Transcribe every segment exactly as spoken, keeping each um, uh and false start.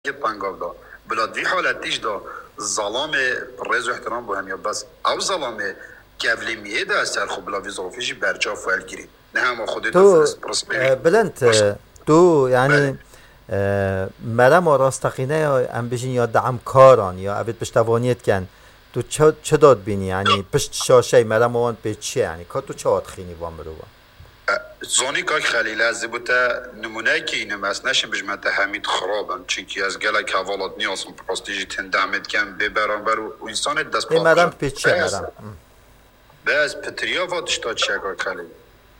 Yê pengav da. Bila di vî haletî jî da zelamê rêz û ihtiram bo hemiya. Bes ew zelamê kevlîmiyê de ser xwe bila vî zafî jî berçav welgirî. Ne hema xwedê Tu, te firist pirsmê e, Bilind, Baş. e, tu, yani, Belê. e, merema rasteqîne ya, em bijîn ya de'mkaran, ya evê piştevaniyê dikin. Tu çi, çi dadbînî, yani, pişt şaşey merema wan pê çi ye, yani, ka tu çawa dixînî van mirovan? E, Zanî kak Xelîl, ez ê bo te nimûneyekî înim, ez neşim bijme te hemî xirab in, çimkî ez gelek hevalat nîyasim, bi rastî jî tên demê dikem bê beramber û, û însanê dest Ê, merem pê çi ye, merem? Hı. Bes pitiriya va tişta çi ye kak Xelîl?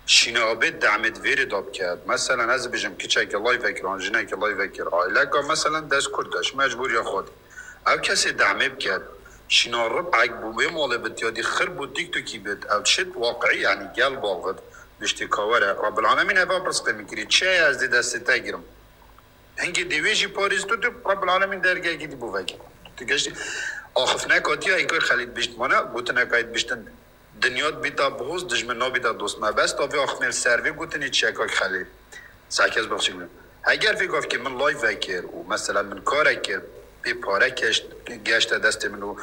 Şîna abê demê di vêrê de biket. Meselen ez bijim kiçeke live kir, an jineke live kir, aileka meselen dest kurt de, ji mecbûriya xwe de. Ev kesê demê biket. Şîna rib'ek bû wê malê bit ya dî xir bû TikTokî bit. Ev çi waqi'î, yani gel bavit. Biştê ka were. Rabbil Alemîn eva pirsqê min kirî. Çi ye ez dê destê te girim? Hingê dê wê jî parêz tu, tu Rabbil Alemîn dergehekî dî bo vekî. Tu geştî. Axifneka tiya, ê kak Xelîl bişt mane, gotineka yê biştin. Dinya dibîta bihoz, dijmin nabîta dost. Me bes da vê axiftinê li ser vê gotinê çi ye kak Xelîl? Sehkez bexşî min. Heger vê gavkê min live vekir û mesela min karek kir, pê pare keşt, geşte destê min û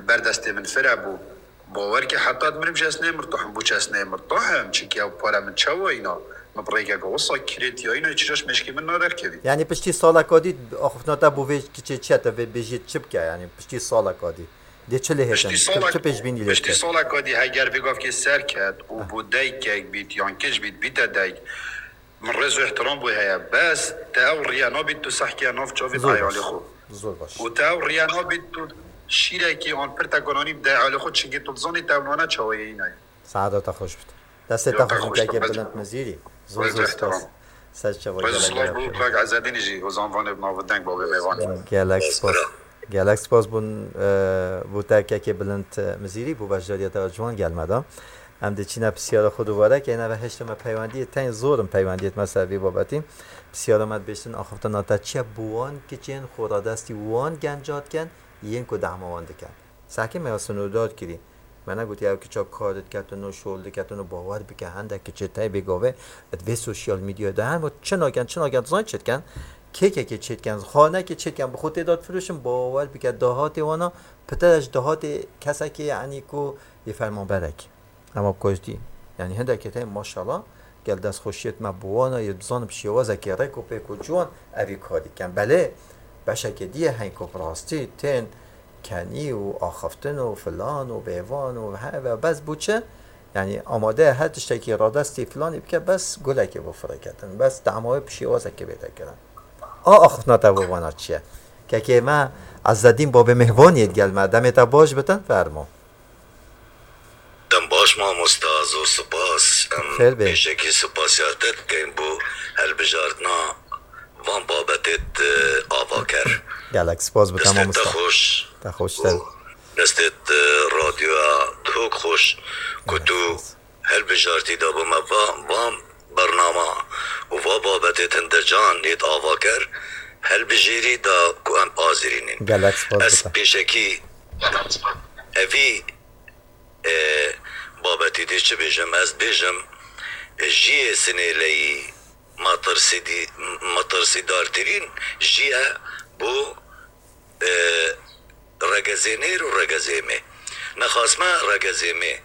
ber destê min fire bû. Bawer ke heta di mirim jî ez nê mirtahim, bû çi ez nê mirtahim, çimkî ew pare min çawa îna, min bi rêkeke wisa kirêt ya îna, çi caş meşkê min naderkevî. Yani piştî saleka dî axiftina te bo vê kiçê çi ye, te vê bêjiyê çi bike, yani piştî saleka dî? Dê çi lê hêtin? Piştî Çi, salek-, çi pêşbînî lê piştî dike? Saleka dî heger vê gavkê ser ket û Ah. bû dayikek bît yan kic bît, bîte dayik. Min rêz û ihtiram bû heye. Bes te ew riya nabît tu sehkiya nav çavê Zor dayê baş. Alê xwe. Zor baş. Û te ew riya nabît tu şîrekî an pirteka nanî dayê alê xwe, çimkî tu dizanî te ew nane çawa yê îna ye. Saeta te xweş bit. Destê Ya te te xweş bit, kekê Bilind Mizîrî. Zor, zor spas. Ser çava gelek gelek. Rêz û silav bo kak Ezedînî jî, û zanvanê bi navdeng bo wê mêvanê. Gelek spas. Gelek spas bûn, e, bo te kekê Bilind Mizîrî, bo beşdariya te ciwan gel me da. Em dê çîne pisyara xwe dubare ke, neve hişte me peywendiyê, tên zor in peywendiyê me ser vî babetî. Pisyara me dibêjtin, axiftina te çi ye bo wan kiçên xwe radestî wan genca dikin, yên ku dehma wan dikin. Sehkê me ya sinûdar kirî. Me negotî ew kiça kar diketin û şol diketin û bawer bike, hindek kiçê tey bê gavê di vê sosyal medyayê de hene, çi nakin, çi nakin, dizanî çi dikin? Kêkekê çê dikin, xanekê çê dikin, bi xwe tê de difiroşin, bawer bike, dahatê wana pite de ji dahatê kesekê, yanî ku yê fermanberekî. Ema koçdî, yanî hindekê tey maşallah, gel destxweşiyê me bi wan e, yê dizanim şêwazekê rêk û pêk û ciwan evî karî ken. Belê, beşekê dî ye hên ku bi rastî tên kenî û axiftin û filan û vêvan û heve bes bû çi? Yanî amade ye her tiştekî radestî filanî bike, bes gulekê bo firêketin. Bes dema wê bi şêwazekê bête kirin. A axiftina te bo vana çi ye? Kekê me Ezzedîn babê mêhvaniyê digel me. Demê te baş bitin, fermo. Dem baş mamosta, zor spas. Em Xêr be. Pêşekî spasiya te dikeyn bo helbijartina van babetê te avaker. Gelek spas bi te Destê te mamosta. Xweş. Te xweştir. Û destê te radyoya Duhok xweş ku Gelek tu spas. Helbijartî da bo me va, van bernama û va babetê tinde can yêt avaker helbijêrî da ku em azirînîn. Gelek spas bi te. Ez pêşekî evî e, babetî dê çi bêjim? Ez bêjim, e, jiyê Sinêleyî metirsîdî-, metirsîdartirîn jiye bo, e, regezênêr û regezêmê. Nexasme regezêmê.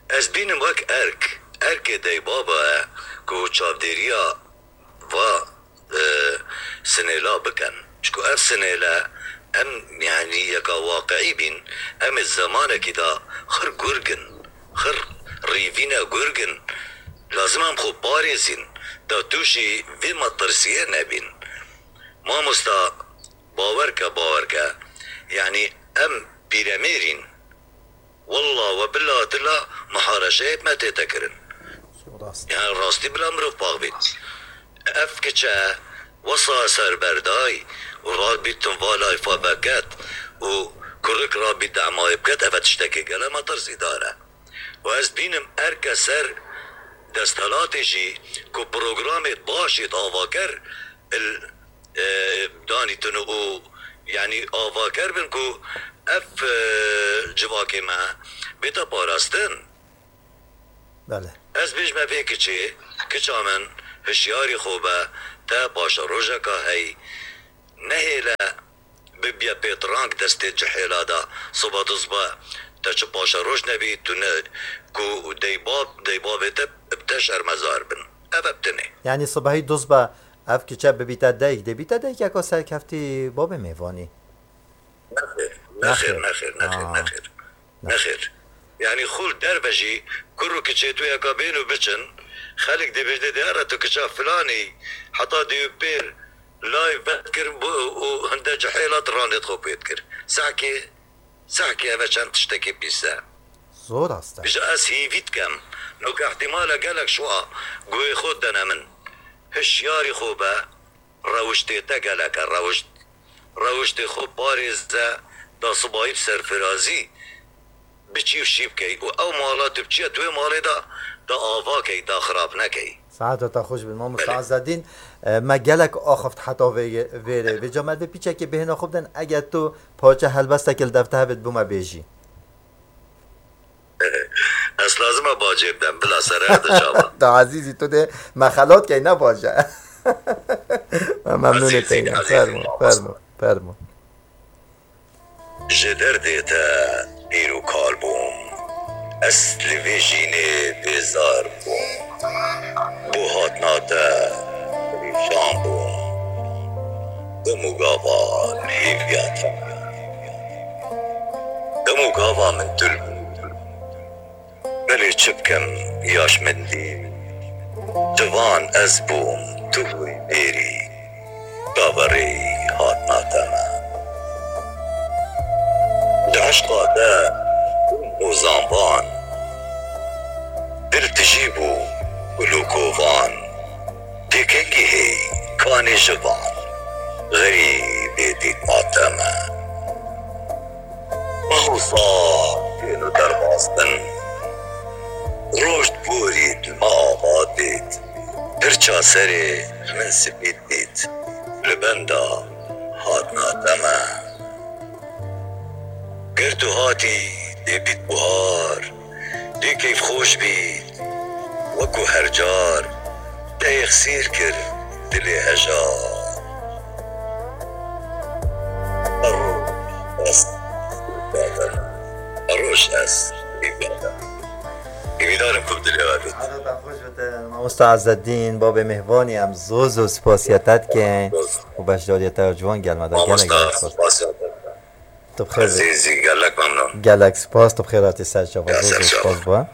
Ez bînim wek erk. Erkê deybaba ye ku çavdêriya va, e, sinêla bikin. Çku ev sinêle em, yanî yeka waqi'î bîn, em ê zemanekî de xir gurgin, xir rîvîne gurgin. Lazim em xwe parêzîn, da tûşî vê metirsiyê nebîn. Mamosta, bawer ke, bawer ke, yanî em pîremêrîn. Walla we bila tila muhareşeyê me tête kirin. Rast. Yani rastî bila mirov pax bît. Ev kiçe wesa ser berdayî û rabît tim va layfa veket û kurik rabît demayê biket, eve tiştekê gele metirsîdar e. Û ez bînim erke ser desthilatê jî ku programê başê avaker il, e, danîtin û, yanî avaker bin ku ev, e, civakê me bête parastin. Belê. Ez bêjme vê kiçê, kiça min, hişyarî xwe be, te paşerojeka hey, Nehêle bibiye pêtirang destê cihêla de. Siba du sibe te çi paşeroj nebî, tu ne ku deybab, deybabê te bi te şermezar bin. Ev e bi tinê. Yanî sibehî du sibe ev kiçe bibîte dayik, dê bîte dayikeka serkeftî babê mêvanî? Nexêr, nexêr, Nexêr. nexêr, nexêr, Aa. nexêr. Nexêr. Yanî xul derve jî kur û kiçê tu yeka bên û biçin, xelk dê bêjne dê here tu kiça filanî, heta dê û pêr layv vedkir û hinde cihêla tu ranê xwe pê dikir. Sehkê, sehkê eve çend tiştekê pîs e. Zor rast e. Ji ez hîvî dikem, noke ihtimale gelek şwa guhê xwe dene min. Hişyarî xwe be, rewiştê te gelek e, rewişt, rewiştê xwe parêze, da sibayî bi serfirazî biçî û şî bikey û ew mala tu biçiye tu wê malê de, da ava key, da xirab nekey. Saeta te xweş bin, mamosta Belê. Ezedîn. E, me gelek axift heta vê, vêrê. Vêca me vê pîçekê bihêna xwe bidin, eger tu parçe helbestekê li dev te hevê dibû me bêjî. Ez lazim e bacê bidem, bila sere de çava. Da ezîzî tu dê me xelat key, ne baş e. Me memnûnê Ezîzî, te ye. ezîzî Fermo, mamosta. fermo, fermo. Ji derdê te pîr û kal bûm. Ez li vê jînê bêzar bûm. Bo hatina te perîşan bûm. Dem û gava hêviya te. Dem û gava min tu li Belê çi bikim, ya ji min dî. Civan ez bûm, tu bûyî bêrî, çaverêyî hatina te me. Di eşqa te bûm hozanvan, dil tijî bû gul û kovan. Pêkengî hêy kanê ji van, xerîbê dîtma te me. Mah û sal tên û derbas bin, roj diborî dilma ava dît, pirça serê min spî dît, li benda hatina te me. Ger tu hatî dê bît buhar, dê keyfxweş bît, wekû her car, te yexsîr kir dilê hejar. Her roj ez, her roj ez, hêvîdar im ku bi dilê we bît. Hevata xweş be te, mamosta Ezedîn, babê mêvanî, em zor zor spasiya te dikin û beşdariya te ya ciwan gel me da. Gelek Mamosta, gelek spas. spasiya te. Tu bi xêr be. Ezîzî, gelek memnûn. Gelek spas, tu bi xêr hatî ser çava. Ya Zor ser zor çava. spas bû.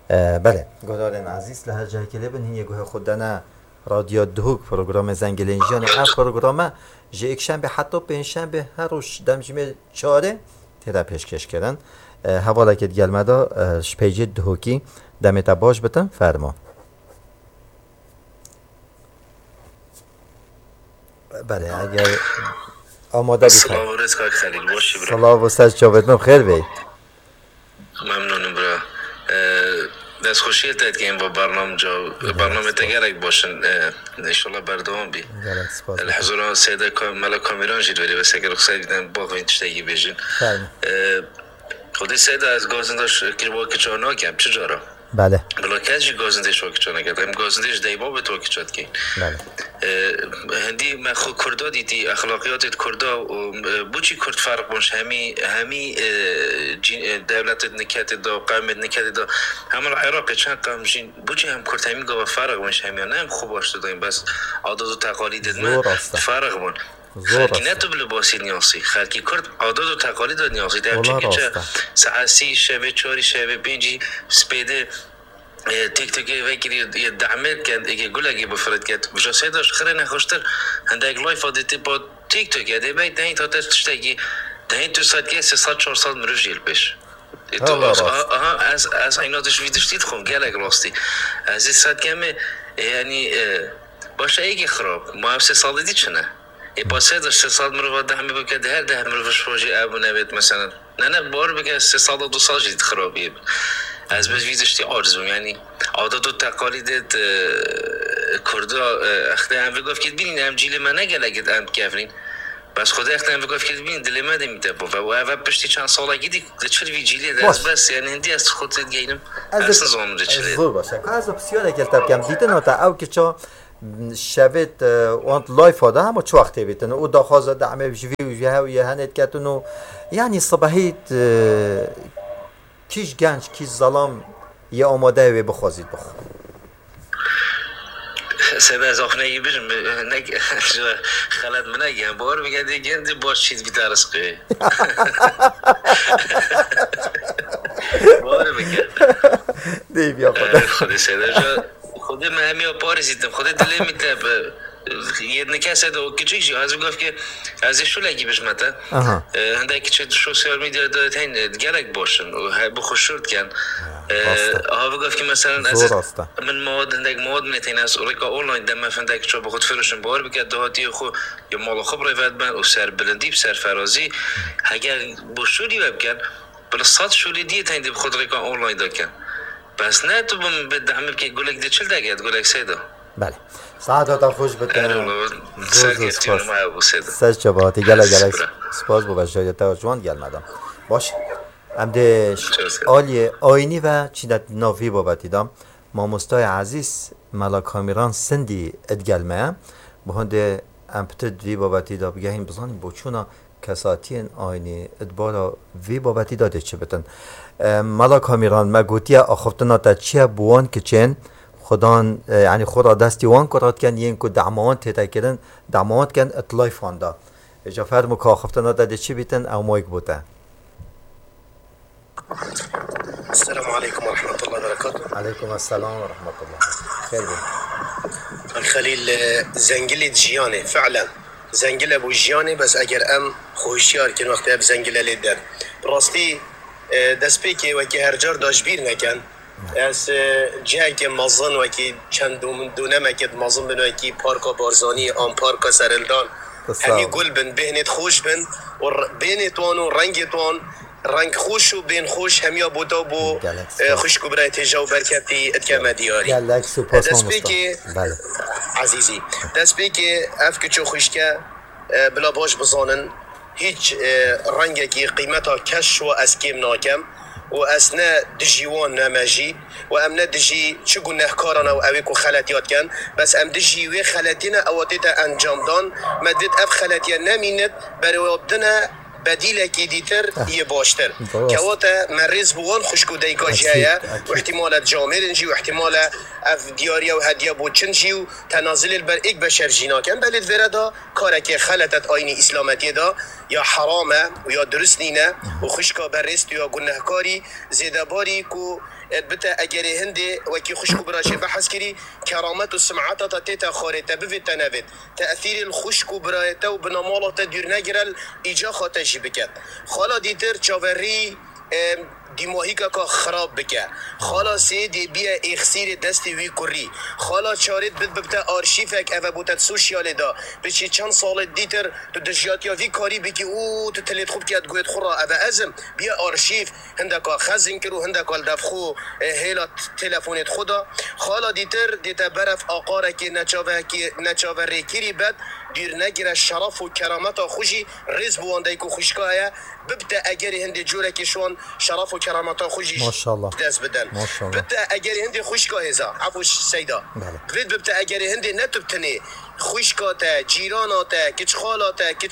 E, belê, guhdarên ezîz li her cihekê lê bin, hîn yê guhê xwe dene Radyo Duhok, programê Zengelên Jiyanê. Ev programe ji êkşembê heta pêncşembê her roj demjimê çarê tê de pêşkêş kirin. E, hevalekê digel me de, e, ji peycê Duhokî demê te baş bitin, fermo. Belê, eger amade bî. Silav û rêz kak Xelîl, baş î bira. Silav û ser çavêt min xêr bê. Memnûn im bira. Ee, destxweşiyê te dikeyin bo bernamca. Gelek Bernamê te spas. gelek baş in. Ee, înşallah berdewam bî. Gelek spas. Li huzura Seyda Ka-, Mela Kamîran jî li vêrê vesekir xisay dîtin, bo xwe tiştekî bêjin. Fermo. Ee, Xwedê Seyda ez gazinda şekil wekî çawa nakem, çi cara? Belê. Bila kes jî gazindê şo kiçane kete. Em gazindê ji deyba bê to kiçe dikey. Belê. E, hindî me xwe Kurda dîtî, exlaqiyatê di Kurda û, e, boçî Kurd ferq bûn ji hemî, hemî, e, cî-, e, dewletê di niketê de, qewmê di niketê de. Hema li Iraqê çend qewm jîn, boçî hem Kurd hemî gava ferq bûn ji hemiyan. Ne em xwe baş didayîn, bes adat û teqalîdê me Zor rast e. ferq bûn. Zor Xelkî rast ne e. tu bi libasî niyasî. Xelkî Kurd adat û teqalîd ve niyasî. Ev Wala çi kiçe rast e. saet sî şevê çarî şevê pêncî spêdê, e, TikTokê vekirî yê dehmê ket, êkê gulekê bifirêt ket. Vija seyda ji xirê nexweştir hindek life dê tê pa TikTok ya dê bey dehîn ta te tiştekî dehîn tu sed kes sê sed çar sed mirov jî li pêş. E, tu Wala as-, rast. aha, aha, ez, ez eyna tu ji vî tiştî dixwim, gelek rastî. Ez ê sed kemê, e, yanî, e, başa êkê xirab. Ma ev sê salî dî çi ne? Ê pasê de sê sal mirova dehmê bike, di her deh mirov ji xwe jî ev bûne bêt, mesela. Ne, ne, bawer bike, sê sal de du sal jî xirabiyê bi. Ez bi vî tiştî aciz bûm, yanî adet û teqalîdê di Kurda, e, extê em vê gavkê dibînîn, em cîlê me ne gelek em dikevnîn. Bes Xwedê extê em vê gavkê dibînîn, dilê me dê mîte bo ve. Û ev piştî çend salekî dî li çil vî cîlê de Baş. ez bes, yanî hindî ez xwe tê digeynim. Ez Ez ê- nizanim de çilê. Zor baş e. Ka ez pisyarek li te bikem. Dîtina te ew kiça Şevê, e, wan live da hema çi wextê bîtin û daxwaza demê ji vî û ji hev yê henê diketin û, yanî sibehî, e, kîj genç, kîj zelam yê amade wê bixwazît bixwe. Seyda, ez axine yî bijim, ne, xelet min negiyan. Bawer bike dê gên dê baş çît bîta rizqê. Bawer bike. Dê biya xwe. Xwedê Seyda, ja Xwedê me hemiya parêzîtin. Xwedê dilê min te bi yê nike Seyda û kiçik jî. Ez bigaf ki ez ê şulekî bijme te. Aha. Hindek kiçik di sosyal medya de tên gelek baş in û he bi xwe şûr dikin. Rast e. Ha bigaf ki meselen ez Zor ê rast e. Min mawad hindek mawad me tên ez rêka online de me hindek çawa bi xwe difirişim. Bawer bike dahatiyê xwe ya mala xwe bi rêve dibin û serbilindî bi serferazî. Heger bo şûrî we bikin, bila sed şûrî diyê tên dê bi xwe rêka online de kin. Bes ne tu bi, bi dehmê bike gulek de çil deket, gulek Seyda. Belê. Saeta te xweş bite. Erê wala, Zor zor serkeftiye spas. ma bû Seyda. Ser çaba hatî gelek gelek Spas. spas bo veşariyeta we ji wan gel medam. Baş. Em dê Çok sağ ol. Aliyê ayînî ve çîne nav vî babetî de. Mamostayê ezîz Mela Kamîran Sindî id gel me ye. Bi hindê em pitir di vî babetî de bigehîn bizanîn boçûna kesatiyên ayînî id bara vî babetî de dê çi bitin. E, Mela Kamîran, me gotiye axiftina te çi ye bi wan kiçên xudan, e, yanî xwe ra destî wan kura dikin yên ku dema wan tête kirin, dema wan dikin id layfan de. Îca fermo ku axiftina te dê çi bîtin ew mayk bo te. Esselamu aleykum ve rahmetullahi ve berekatuhu. Aleykum esselam ve rahmetullah. Xêr be. Xelîl, e, zengilê jiyanê, fi'len. Zengile bû jiyanê, bes eger em xwe hişyar kin wextê ev zengile lê den. Bi rastî, e, destpêkê wekî her car da ji bîr nekin. Ez, e, cihekê mezin wekî çend dom-, donemekê mezin bin wekî Parka Barzanî an Parka Serhildan. Sağ Hemî ol. Gul bin, bêhnêt xweş bin û r-, bêhnêt wan û rengêt wan. Reng xweş û bên xweş hemiya bota bo, Gelek e, spas. Xwişk û birayê têja û berketî dikeme diyarî. Gelek spas mamosta. Destpêkê Belê. Ezîzî. Destpêkê ev kiço xwişke, e, bila baş bizanin, hîç, e, rengekî qîmeta keş wa ez kêm nakem û ez ne dijî wan ne me jî û em ne dijî çi gunehkaran ew ewê ku xeletiya dikin, bes em dijî wê xeletî ne ewa tête encamdan, me divêt ev xeletiye nemînit, berêwabdine bedîlekî dîtir yê baştir. Rast. Kewate me rêz bi wan xwişk û dayika jî heye. Ekîd, ekîd. Û ihtimale camêrin jî û ihtimale ev diyariye û hediye bo çin jî û tenazilê li ber êk beşer jî nakin. Belê di vêre de karekê xelet et ayînî îslametiyê de ya heram e û ya dirust nîne û xwişka berêst û ya gunehkarî zêdebarî ku bite egerê hindê wekî xwişk û bira jê behs kirî keramet û simeta te tête xwarê te bivêt te nevêt. Tesîrê li xwişk û birayê te û bina mala te dûr negire li îcaxa te jî biket. Xala dîtir çaverî, em, dîmahîkeka xirab bike. Xala sêdê biye êxsîrê destê wî kurî. Xala çarêt bid bibte arşîvek eve bo te di sosyalê de. Biçî çend salê dîtir tu dijiyatiya vî karî bikî û tu tilêt xwe bike di guhêt xwe re eve ez im. Biye arşîv. Hindeka xezin kir û hindeka li dev xwe, e, hêla t-, telefonê xwe da. Xala dîtir dê te berev aqarekê neçavekê, neçaverêkirî bed, dûr negire şeref û kerameta xwe jî rêz bi wan dayik û xwişka heye, bibte egerê hindê corekê şwan şeref û kerameta xwe jî Maşallah. dest bidin. Maşallah. Bibte egerê hindê xwişka hêza, efû Seyda. Belê. Divêt bibte egerê hindê ne tu bi tenê, xwişka te, cîrana te, kiçxala te, kiç